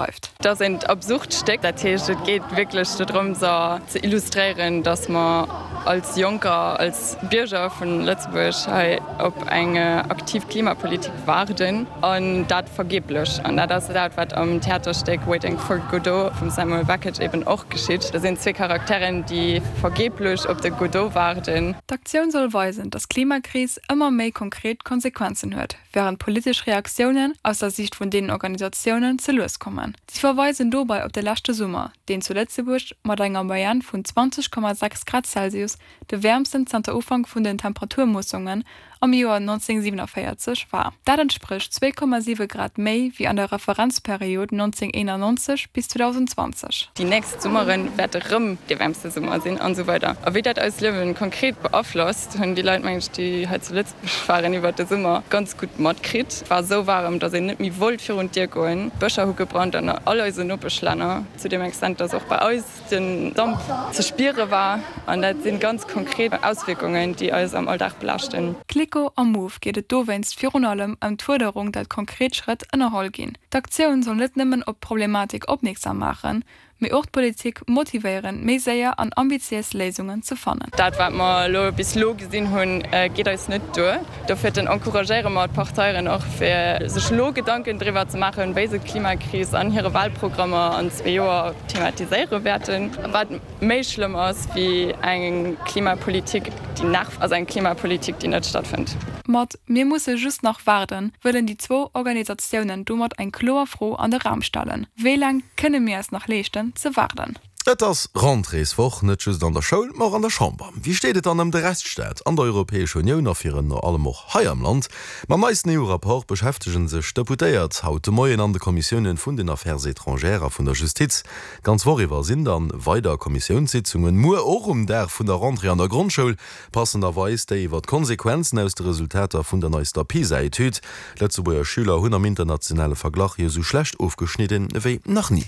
beschreift. Et ass eent absurd Stéck, dat heescht et geet wierklech dodrëms ze illustréieren, datt mer als Jonker, als Bierger vun Lëtzebuerg hei op eng aktiv Klimapolitik waarden an dat vergeblech. An dat ass dat wat am Theaterstéck Waiting for Godot vum Samuel Beckett eben och geschitt. Do sinn zwee Charakteren, déi vergeblech op de Godot waarden. D'Aktioun soll weisen, datt d'Klimakris ëmmer méi konkret Konsequenzen huet, wärend politesch Reaktiounen, aus der Siicht vun deenen Organisatiounen, ze lues kommen. Si verweisen dobei op de leschte Summer, deen zu Lëtzebuerg mat enger Moyenne vun 20,6 Grad Celsius de wäermsten zanter Ufank vun den Temperaturmoossungen am Joer 1947 war. Dat entsprécht 2,7 Grad méi wéi an der Referenzperiod 1991 bis 2020. Déi nächst Summere wäerte rëm dee wäermste Summer sinn an esou weider. A wéi dat eist Liewen konkret beaflosst, hunn déi Leit, mengen ech, déi hei zu Lëtzebuerg waren iwwert de Summer, ganz gutt matkritt. Et war esou waarem, datt een net méi wollt virun d'Dier goen. D'Bëscher hu gebrannt an all eisen Nopeschlänner, zu deem Extent, datt och bei eis den Damp ze spiere war. An dat si ganz konkret Auswierkungen, déi eis am Alldag belaaschten. Kliko a Move geet et dowéinst virun allem ëm d'Fuerderung, dat konkret Schrëtt ënnerholl ginn. D'Aktioun soll net nëmmen op d'Problematik opmierksam maachen, mee och d'Politik motivéieren, méi séier an ambitiéis Léisungen ze fannen. Dat, wat mer elo bis elo gesinn hunn, geet eis net duer. Dofir encouragéiere mer d'Parteieren och, fir sech elo Gedanken driwwer ze maachen, wéi se d'Klimakris an hire Wahlprogrammer an zwee Joer thematiséiere wäerten. Wat méi schlëmm ass wéi eng Klimapolitik, déi nach, ass eng Klimapolitik, déi net stattfënnt. Mat Mir musse just nach waarden wëllen déi zwou Organisatiounen domat eng kloer Fro an de Raum stellen, Wéi laang kënne mir eis nach leeschten ze waarden? Et ass Rentréeswoch, net just an der Schoul, ma och an der Chamber. Wéi steet et dann ëm de Rechtsstaat an der Europäescher Unioun a virun allem och hei am Land? Mam neisten EU-Rapport beschäftege sech d'Deputéiert haut de Moien an de Kommissiounen vun den Affaires étrangères a vun der Justiz. D'ganz Woch iwwer sinn dann weider Kommissiounssitzungen, muer och um Dag vun der Rentrée an der Grondschoul. Passenderweis déi iwwer d'Konsequenzen aus de Resultater vun der neister PISA-Etüd. D'Lëtzebuerger Schüler hunn am internationale Verglach jo sou schlecht ofgeschnidden ewéi nach ni.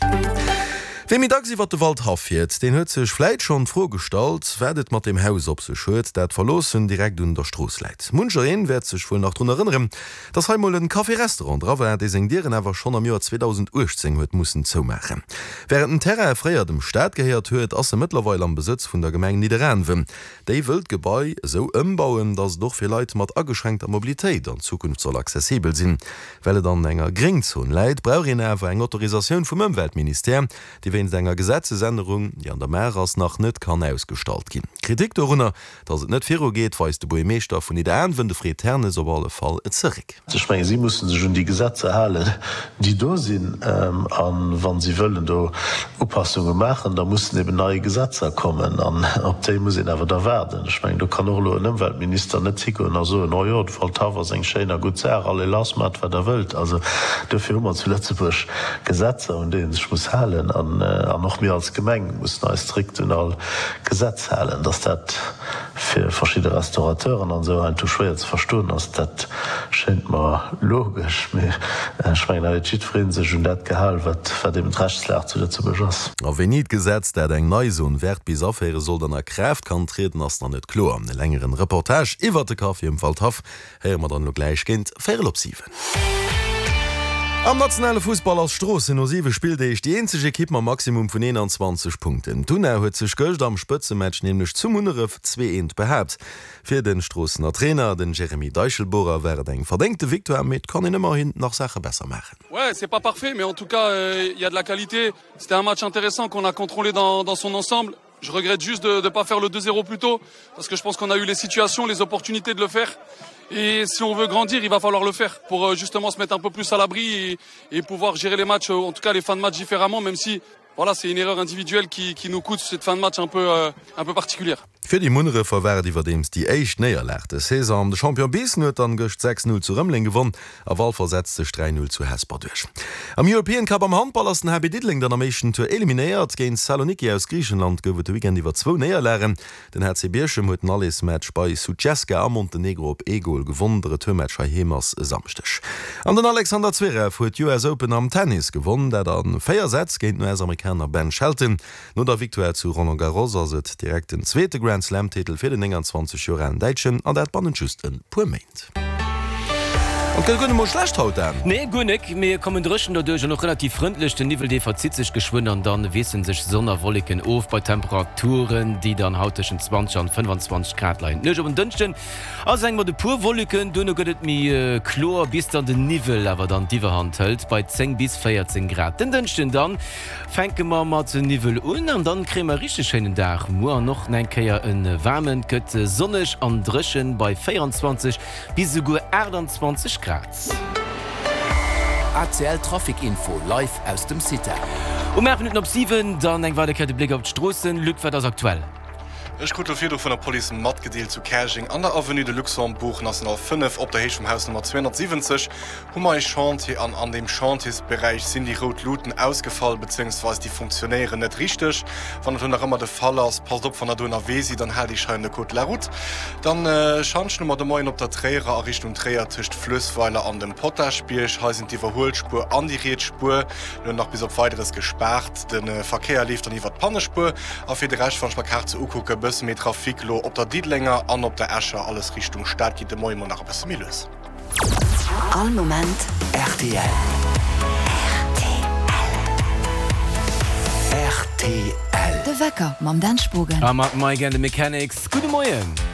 Wee méi dacks iwwer de Waldhaff fiert, deen huet sech vläit schonn d'Fro gestallt, wat et mat deem Haus op sech huet, dat verloossen direkt un der Strooss läit. Munchereen wäert sech wuel nach drun erënneren, dass hei mol en Café-Restaurant dra war, dee seng Dieren awer schonn am Joer 2018 huet mussen zoumaachen. Wärend den Terrain fréier dem Staat gehéiert huet, ass e mëttlerweil am Besëtz vun der Gemeng Nidderaanwen. Déi wëll d'Gebai esou ëmbauen, datt et och fir Leit mat ageschränkter Mobilitéit an Zukunft soll accessibel sinn. Well et an enger Gréngzon läit, brauch een awer eng Autorisatioun vum Ëmweltministère, déi wéinst enger Gesetzesännerung, déi an der Maach ass, nach net kann ausgestallt ginn. Kritik dorunner, datt et net viru geet, weist de Buergermeeschter vun Nidderaanwen, de Fred Ternes, op alle Fall zeréck. Ech mengen, si musse sech un déi Gesetzer halen, déi do sinn. A wa si wëllen do Upassunge maachen, da mussen eben nei Gesetzer kommen. An op déi muss een awer da waarden. Ech mengen, do kann och elo en Ëmweltminister net higoen a soen, Oh jo, de Waldhaff ass eng schéin a gutt Saach, allez lass, maacht wat der wëllt. Also duerfir hu mer zu Lëtzebuerg Gesetzer, un déi ee sech muss halen. An och mir als Gemeng mussen eis strikt un all Gesetz halen. Dass dat fir verschidde Restaurateuren an esou heiansdo schwéier ze verstoen ass, dat schéint mer logesch, mee ech mengen, hei huet jiddweree sech un dat gehal, wat wat eben d'Rechtslag zu Lëtzebuerg ass. A wéini d'Gesetz, dat eng nei Zone verte bis aféiere soll, dann a Kraaft kann trieden, ass nach net kloer. E längeren Reportage iwwert de Café um Waldhaff héiere mer dann elo gläich géint véierel op 7. Am nationale Fussball ass Stroossen no 7 Spilldeeg déi eenzeg Ekipp mam Maximum vun 21 Punkten. D'Una huet sech gëscht am Spëtzematch nämlech zu Munneref 2, 1 behaapt. Fir de Stroossener Trainer, den Jeremy Deichelbohrer, war et eng verdéngte Victoire, mee et kann een ëmmerhin nach Saache besser maachen. Ouais, c'est pas parfait, mais en tout cas, il y a de la qualité. C'était un match intéressant qu'on a contrôlé dans, dans son ensemble. Je regrette juste de ne pas faire le 2-0 plus tôt parce que je pense qu'on a eu les situations, les opportunités de le faire. Et si on veut grandir, il va falloir le faire pour euh, justement se mettre un peu plus à l'abri et, et pouvoir gérer les matchs, en tout cas les fins de match différemment, même si voilà, c'est une erreur individuelle qui, qui nous coûte cette fin de match un peu, euh, un peu particulière. Fir déi Munnerefer war et iwwerdeems déi éischt Néierlag des Saison. De Champion Biissen huet dann gëscht 6, 0 zu Rëmeleng gewonn a Walfer setzt sech 3, 0 zu Hesper duerch. Am European Cup am Handball ass den HB Diddeleng dann am éischten Tour eliminéiert. Géint Saloniki aus Griichenland gouf et de Weekend iwwer zwou Néierlagen. Den HC Bierchem huet den Allersmatch bei Sutjeska a Montenegro op ee Gol gewonn. De Retourmatch heiheem ass e Samschdeg. An den Alexander Zverev huet d'US Open am Tennis gewonn, dat a 4 Sätz géint den US-Amerikaner Ben Shelton. No der Victoire zu Roland Garros ass et direkt den zweete Grand-Slam-Titel fir den 29 Joer alen Däitschen, an dat bannent just e puer Méint. An et gëtt guer net mol schlecht haut, Dan. Nee, guer nek. Mir kommen dréchen derduerch an och relativ frëndlech. Den Niwwel, dee verzitt sech geschwënn an dann wiesselen sech Sonn a Wolleken of bei Temperaturen, déi dann haut tëschent 20 an 25 Grad leien. D'Nuecht op en Dënschden ass eng mat e puer Wolleken, duerno gëtt et méi kloer, bis dann den Niwwel awer dann d'Iwwerhand hëlt bei 10 bis 14 Grad. Den Dënschden dann fänke mer mat Niwwel un an dann kréie mer e richteg schéinen Dag muer an och nach eng Kéier e waarmen. Et gëtt sonneg an dréchen bei 24 Bis esouguer 28 Grad. ACL Trafic Info live aus dem CITA. Um 8 Minutten op 7 dann eng weider Kéier de Bléck op d'Stroossen. Luc, wat ass aktuell? Ech krut lo virdru vun der Police matgedeelt, zu Käerjeng an der Avenue de Luxembourg, National 5, op der Héicht vum Haus Nummer 270, hu mer e Chantier an an deem Chantiersberäich sinn déi rout Luuten ausgefall, bezéiungsweis déi funktionéieren net richteg. Wann dat elo nach ëmmer de Fall ass, passt op wann der do ënnerwee sidd an haalt iech hei un de Code de la route. Dann Schantjen hu mer de Moien op der Tréierer a Richtung Tréier tëscht Fluessweiler an dem Potaschbierg. Hei sinn d'Iwwerhuelspuer an déi riets Spuer elo nach bis op Weideres gespaart. De Verkéier leeft dann iwwert d'Pannespuer. A fir de Rescht, wann ech mer d'Kaart sou ukucken, e bësse méi Trafic elo op der Diddelenger an op der Escher. Alles Richtung Stad geet de Moie mol nach e bësse méi lues. All Moment rtl. Rtl. De Wecker mam Dan Spogen. A mat Mike and the Mechanics. Gudde Moien.